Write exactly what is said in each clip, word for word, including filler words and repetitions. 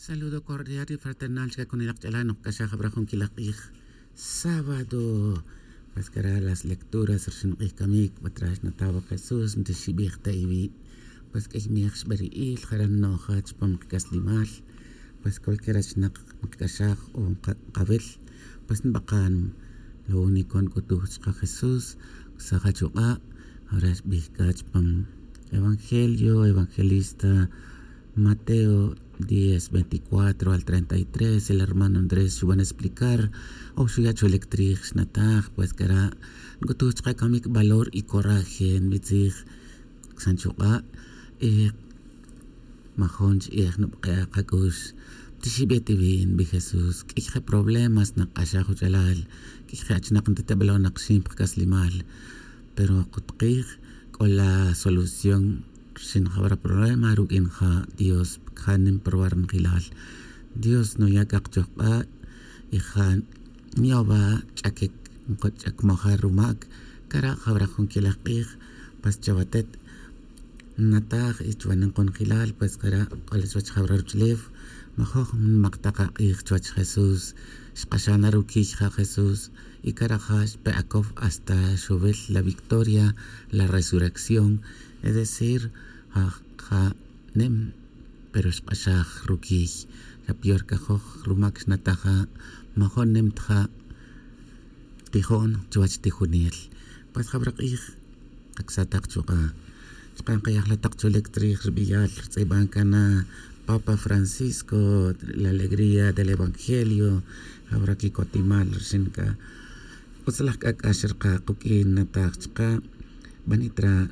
Saludo cordial y fraternal chca con el akch'alal nokc'axaj abra jun quilaj k'ij sábado. Pues cara las lecturas rxin k'ij camic patra xnataw jesús nti xibij ta iwi'. Pues k'ij miej xberi'il jara nno'ja chupam kac'aslimal. Pues cualquier achnak nkc'axaj o nkawil, pues nbakan lo único nc'utuj chka jesús. Saja chuk'a' ahora xbij c'a chupam evangelio evangelista Mateo diez veinticuatro al treinta y tres el hermano andrés xuban explicar o xuya' cholic trij xnataj pues cara' nc'utuj chka camic valor y coraje nbitzij. Xan chuk'a' y majun chi'ej nubk'e' akac'ux. Tixibet iwi' nbi jesús k'ij je problemas nak'axaj uch'alal k'ij je achnak ntatebalon akxin pa kac'aslimal. Pero kutkij c'o la solución rxin jawara problema ruq'uin ja dios ja nim probar njelal. Dios nuya' c'ak chojk'a' y ja nyoba ch'aquic nkuch'ac mojar rumac. Cara' jawara jun quilaj k'ij pues chawatet nnataj y chuwa ninkun jelal pues cara' c'o la chuwech jawara ruch'ulef. Majoj nmak tak ak'ij chuwech jesús. Xk'axan na ruquiy ja jesús y cara' ja xpe' acow hasta xuwil la victoria la resurrección. Es decir ja ja nim pero xk'axaj ruquiy. Xa pior cajoj rumac xnataja majun nim ta ja tijon chuwech tijunel. Pues jawara k'ij kacsatak chuk'a' chka' nkayajlatak cholic trij rbiyal rtz'iban cana papa francisco la alegría del evangelio. Jawara quicotimal rxin c'a utz laj c'ac'ax rka kuq'uin nataj chka' banitra'.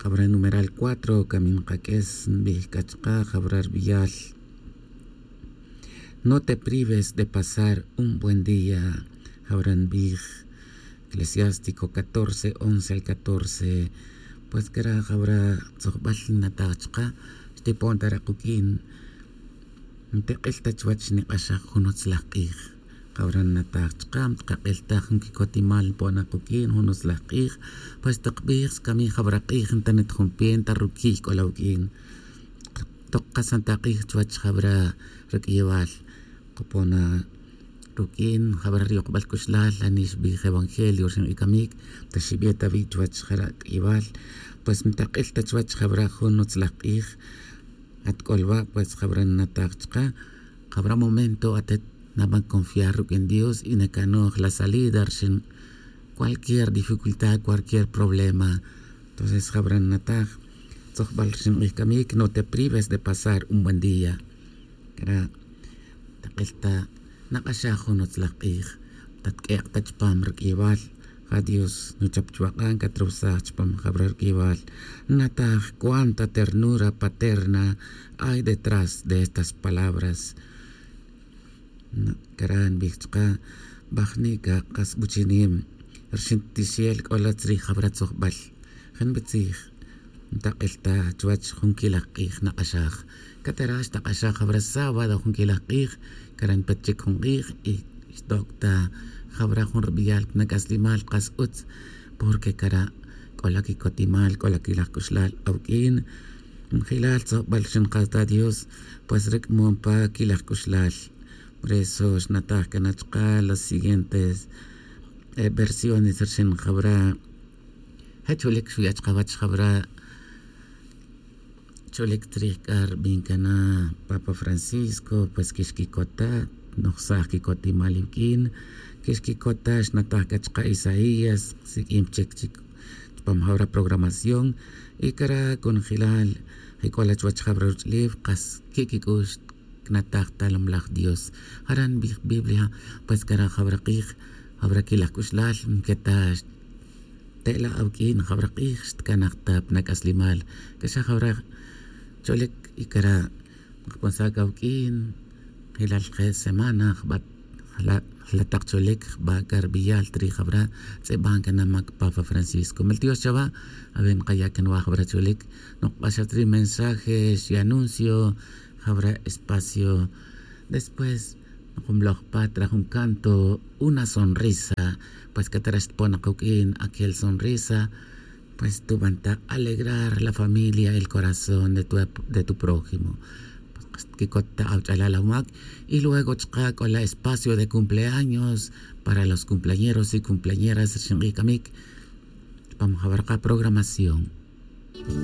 Jawara numeral cuatro camin kaq'ues nbij c'a chka' jawara rbiyal. No te prives de pasar un buen día. Jawara nbij eclesiástico catorce once al catorce. Pues cara' jawara tzojbal nnataj chka' xtipon ta ra' kuq'uin. Ntek'il ta chuwech nik'axaj jun utzlaj k'ij. Jawara nnataj chka' mtkak'il ta jun quicotimal npon akuq'uin jun utzlaj k'ij. Pues tokbij skami jawara k'ij ntanet jun pie nta ruquiy c'o la uq'uin. Tok kasan ta k'ij chuwech jawara raq'uiyewal. Kopona ruq'uin jawara riyokbal c'uxlal anix bij evangelio rxin k'ij camic. Ta xibe ta wi' chuwech jara' q'uiyewal. Pues ntak'il ta chuwech jawara jun utzlaj k'ij. At c'o lwa' pues jawara nnataj chka'. Jawara momento atet naban confiar ruq'uin dios y nacanoj la salida rxin cualquier dificultad cualquier problema. Entonces jawara nnataj tzojbal rxin k'ij camic no te prives de pasar un buen día. Cara' tak'il ta nak'axaj jun utzlaj k'ij. Tatq'uek' ta chupam ruq'uiyewal ja dios nuchap chuwak'an catrusaj chupam jawara ruq'uiyewal. Nataj cuánta ternura paterna hay detrás de estas palabras. Cara' nbij chka' bajni' ca kas buchinim rxin tixel c'o la tzrij jawara tzojbal. Je nbitzij ntak'il ta chuwech jun quilaj k'ij nak'axaj. Catara' xtak'axaj jawara sábado jun quilaj k'ij. Cara' npet chic jun k'ij y xtok' ta jawara jun rbiyal pa nac'aslimal kas utz. Porque cara' c'o la quicotimal c'o la quilaj c'uxlal awuq'uin. Njelal tzojbal rxin kas ta dios. Pues ruc'mon pa quilaj c'uxlal. Por eso xnataj cana chka' los siguientes versiones rxin jawara. Je cholic xuya' chkawech jawara. Cholic tzrij c'a rbin cana papa francisco pues quixquicota. Nojsaj quicotimal iwq'uin quixquicota xnataj c'a chka' isaías siq'uin chic chic chupam jawara programación. Y cara' conjelal je c'o la chuwech jawara ruch'ulef kas qui' quic'ux cnataj ta lomlaj dios. Jara' nbij biblia. Pues cara' jawara k'ij jawara quilaj c'uxlal nqueta' xte'la' awuq'uin jawara k'ij xtcanaj ta pa nac'aslimal. C'a xa jawara cholic y cara' nkponsaj c'a awuq'uin. Jelal je' semana jba' jla' tak cholic jba' c'a rbiyal ta ri' jawara tz'iban cana mac papa francisco mel dios chawa'. Awe' nkaya' can wa jawara cholic. Nokbaj xa ta ri' mensaje xyanuncio jawara espacio. Después nokmloj pa ta ra jun canto una sonrisa. Pues c'a ta ra xtpon akuq'uin aquel sonrisa. Pues tuban ta alegrar la familia el corazón de tu prójimo. Xtquicot ta awach'alal awamak. Y luego chaka' c'o la espacio de cumpleaños para los cumpleañeros y cumpleañeras rixin k'ij c'amic. Chupam jawara' ka programación.